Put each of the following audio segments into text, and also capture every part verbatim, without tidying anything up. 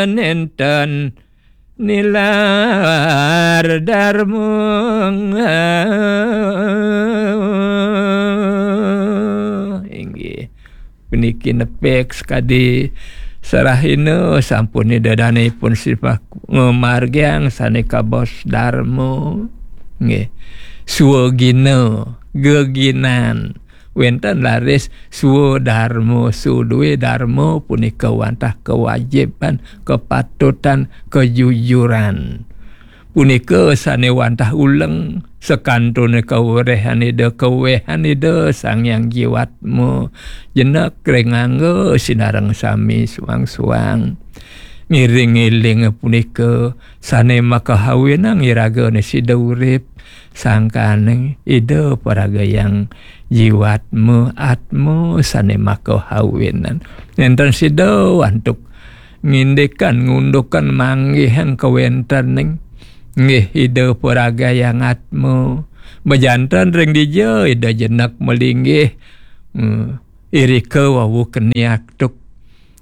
nénten nilar darma. Inggih. Puniki nepik sakadi serahina sampun Ida Danipun Sipak ngamargiang sané kabaos darma. Nggih. Swagina, geginan. Wénten raris swadarma, swadarma punika wantah kewajiban, kepatutan, kejujuran. Punika sané wantah uleng, sakantun kaweréhan Ida, kawéhan Ida Sang Hyang Jiwatma, jenek ring angga sinareng sami suang-suang. Ngiring-iling punika sané makahawinang iraga sida urip, sangkaning Ida paragayang Jiwatma, atma sané makahawinang. Nénten sida antuk ngindikan, ngundukan, manggihan kawéntening. Nggih, Ida paragayang atma. Majanten ring dija Ida jenek malinggih. Hmm. Irika wau keni antuk.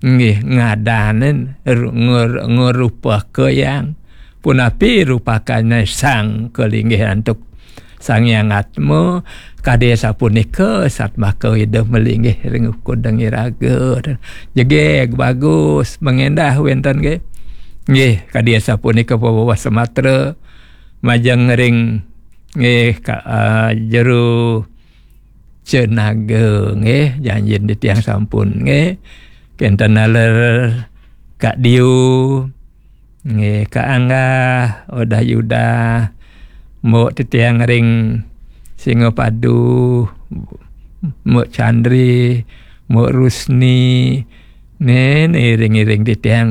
Nggih, ngadanin ru-, ngur-, ngrupakayang. Punapi rupakane sang kalinggih antuk Sang Hyang Atma, kadi sapunika satmaka Ida malinggih ring ukudeng iraga. Jegég bagus, mangendah wénten nggih. Nggih, kadi sapunika paweweh samatra majeng ring nggih ka, ah, jero Cenaga nggih, janjin titiang sampun nggih. Kenten naler Kak Diu, nggih, Kak Angga, Odah Yuda, Mbok titiang ring Singapadu, Mbok Chandri, Mbok Rusni, nggih, iring-iring titiang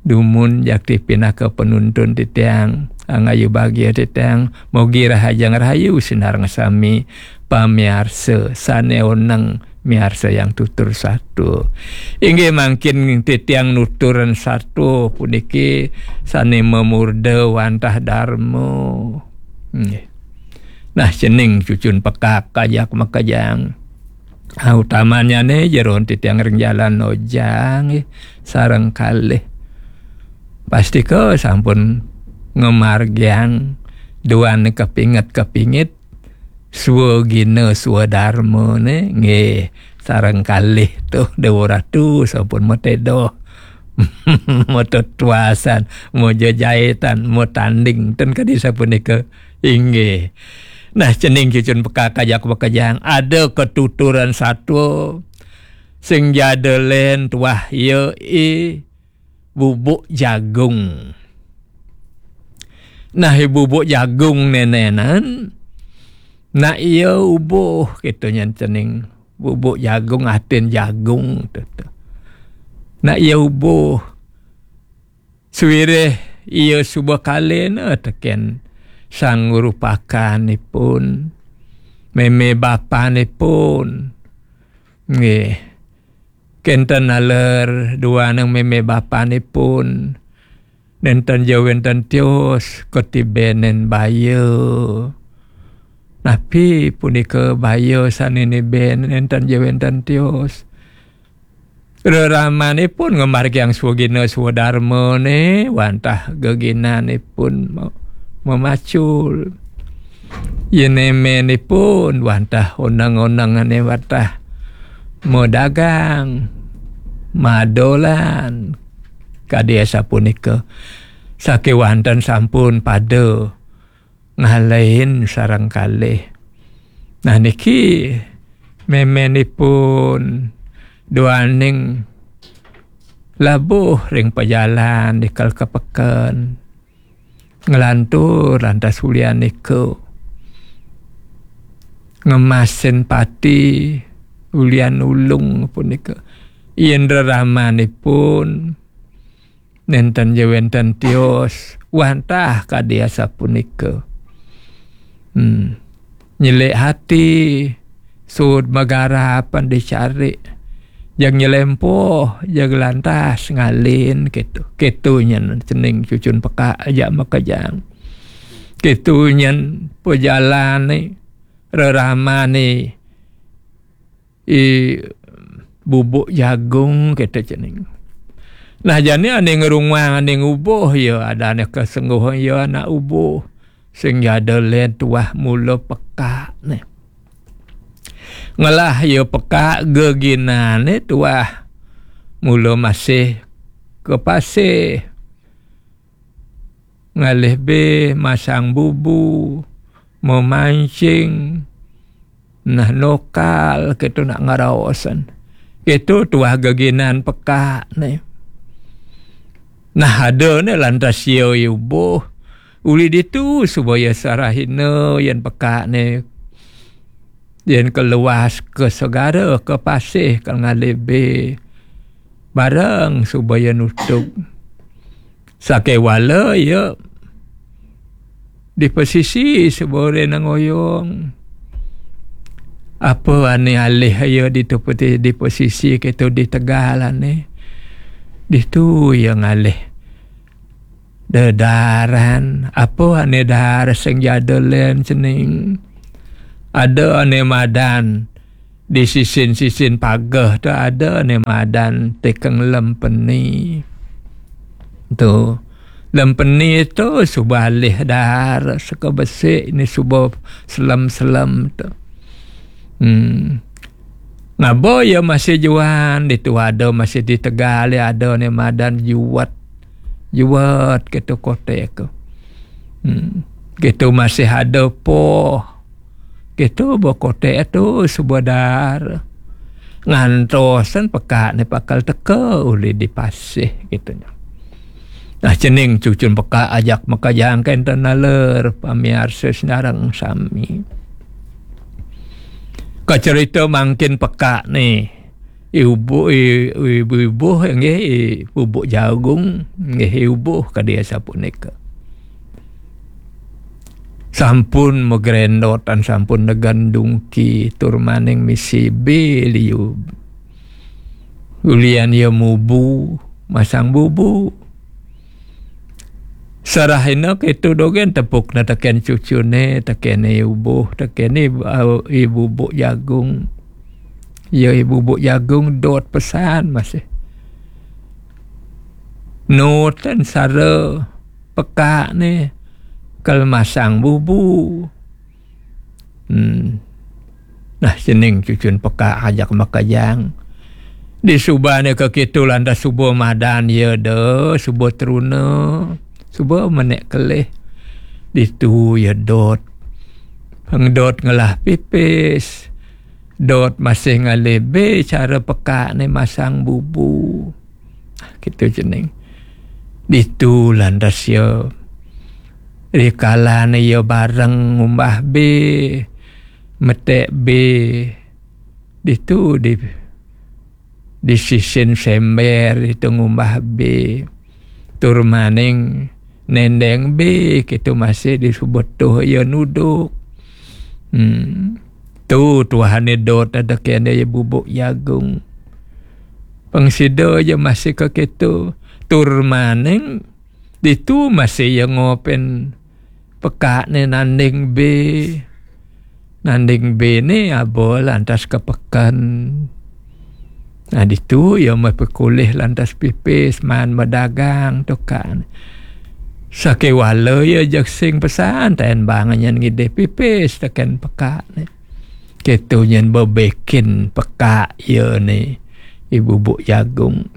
dumun jakti pinaka penuntun titiang, angayu bagia titiang, mogi rahajeng rahayu sinareng sami pamiarsa sane oneng miarsa yang tutur satua. Inggih mangkin titiang nuturan satua puniki sane mamurda wantah darma. Nggih. Nah, cening cucun pekak kajak makejang. Ah, utamanyane jeron titiang ring jalan ojang, nggih, sareng kalih. Pastika sampun ngamargiang duan kepinget-kepinget, swagina swadarmane, nggih, sareng kalih tuh Dewa Ratu sampun matedoh, matetuasan, majejaitan, matanding, ten kadi sapunika. Inggih. Nah, cening cucun pekak kajak makejang, ada ketuturan satua sing jada len tuah ya i bubuk jagung. Nah, i bubuk jagung nenenan, nak iya ubuh, gitu nyen cening. Bubuk jagung, atin jagung, tu, tu. Nak iya ubuh. Sawireh iya suba kalena teken sang rupakanipun, meme bapanipun. Nggih. Kenten naler duaneng meme bapanipun. Nenten ja wenten tios katibenen baya. Napi punika baya sane niben nenten ja wenten tios? Reramanipun ngamargiang swagina swadarmane wantah geginanipun me-, memacul. Yen emenipun wantah oneng-onengane wantah madagang, madolan, kadi asapunika. Sakewanten sampun pada ngalahin sareng kalih. Nah, niki memenipun duaning labuh ring pajalan ikel ka peken. Nglantur lantas ulian nika. Ngemasin pati ulian ulung punika. Yen reramanipun nenten ja wenten tios, wantah kadi asapunika. Hmm. Nyelik ati, sud magarapan dicari. Jag nyelempoh, jag lantas ngalin, gitu. Gitu nyen cening cucun pekak aja makejang. Gitu nyen pajalane, reramane, i bubuk jagung, kata cening. Nah, jani ane ngerunguang ane ngubuh, ya, adane kesengguh ya anak ubuh. Sing jada len tuah mula pekak ne. Ngelah ya pekak geginane tuah mula masih ke pasih. Ngalih be masang bubu, memancing, nah, nokal, keto nak ngeraosan. Keto tuah geginan pekak ne. Nah, ada ne lantas ya ubuh. Uli ditu suba ya sarahina yen pekak ne. Yen keluas ke segara, ke pasih, ke ngalih be. Bareng suba ya nutup. Sakewala ya di pesisi suba rena ngoyong. Apa ane alih ya di tepeti di pesisi keto di tegal ane. Ditu ya ngalih. Dedaran, apa ane dar sing jada len cening. Ada ane madan di sisin-sisin pageh tu ada ane madan tekeng lempeni. Tu. Lempeni tu suba alih dar seka besik ni suba selem-selem tu. Hmm. Ngaba ya masih juan, ditu ada masih di tegal, ada ne madan juat. Juat ketu kotek ke. Hmm. Ketu masih ada poh. Ketu ba kotek tu suba dar. Ngantosan pekak ne pakal teka uli di pasih ketu nya. Nah, cening cucun pekak ajak makajang kenten naler pamiarsa senareng sami. Ka cerita mangkin pekak ni. Ibu, i-, ibu-ibu nggih, i bubuk jagung nggih, ibu ka dia sapunika. Sampun megrendot dan sampun negan dungki tur maning misi biliu. Ulian ia mubu, masang bubu. Sarahina ketu dogen tepukna teken cucune, teken ibuh, teken i-, au-, ibubuk jagung. Ya ibubuk jagung dot pesan masih. Nutan sara pekak ne kal masang bubu. Hmm. Nah, cening cucun pekak ajak makajang. Di subane ke kitu lantas suba madan ya de, suba teruna, suba menek kelih. Ditu ya dot. Pengdot ngelah pipis. Dot masih ngalih be cara pekak ne masang bubu. Kitu cening. Ditu lantas ya. Rikalane ya bareng ngumbah be, metek be. Ditu di, di sisin sember ditu ngumbah be. Tur maning nendeng be kitu masih disebut tuh ya nuduk. Hmm. Tu tuahane dot ada kene ya bubuk jagung. Pengsida ya masih ke kitu. Tur maning ditu masih ya ngopen pekak ne nanding be. Nanding be ne aba lantas ke peken. Nah, ditu ya mai pekulih lantas pipis man medagang tukan. Sakewala ya jak sing pesan ten bang nyen ngidih pipis teken pekak ne. Ketu nyen bebekin pekak ya ne. Ibubuk jagung.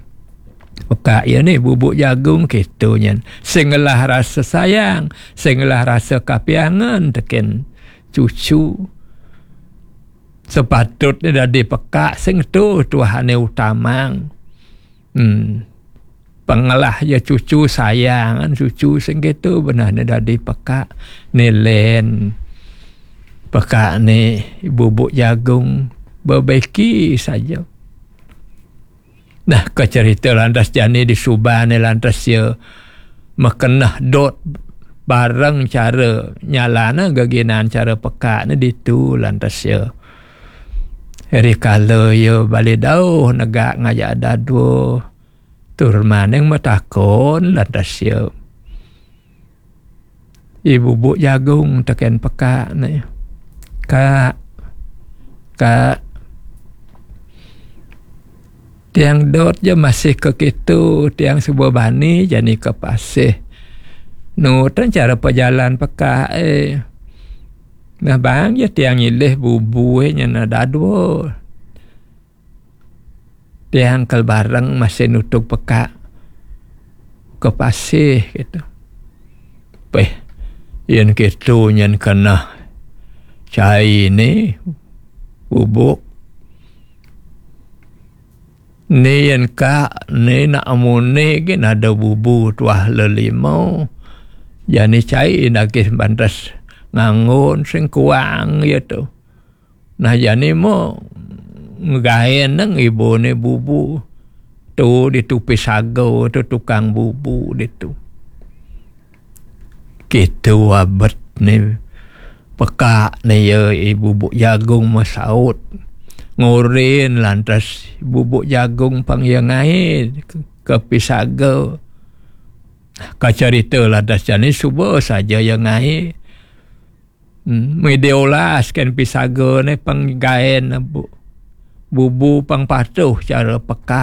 Pekak ya ne bubuk jagung ketu nyen. Sing ngelah rasa sayang, sing ngelah rasa kapiangan teken cucu. Sepatutne dadi pekak sing tu tuahane utamang. Hmm. Pengelah ya cucu sayangan cucu sing ketu benehne dadi pekak. Nilen pekak ne bubuk jagung bebeki saja. Nah, ke cerita lantas jani di subane lantas ya mekenah dot bareng cara nyalana geginan cara pekak ne ditu lantas ya. Rikala ya bali dauh negak ngajak dadua. Tur maning metakon lantas ya. Ibubuk jagung teken pekak ne. Kak, kak, Tiang dot ja masih ka kitu, tiang suba bani jani ka pasih. Nu ten cara pajalan pekak, eh. Nah, bang ja tiang nyilih bubu, eh, nya nadai dua. Tiang kal bareng masih nutug pekak ka pasih kitu. Peh, yen kitu nyen keneh cai ni bubuk. Ni yen ka, ni nak amuni gin ada bubu tuah lelima. Jani cai nagih bantes nganggon sing kuang ya tu. Nah, jani mo ngegaen nang ibu ni bubu. Tu ditu pisaga tu tukang bubu ditu. Kitu abet ni pekak ni ya, i bubuk jagung masaut. Ngurin lantas bubuk jagung pang ya ngai ke, ke pisaga. Ka cerita lantas jani suba saja ya ngai. Hmm, meh diolaskan pisaga ni pang gaen bu-, bubu pang patuh cara pekak.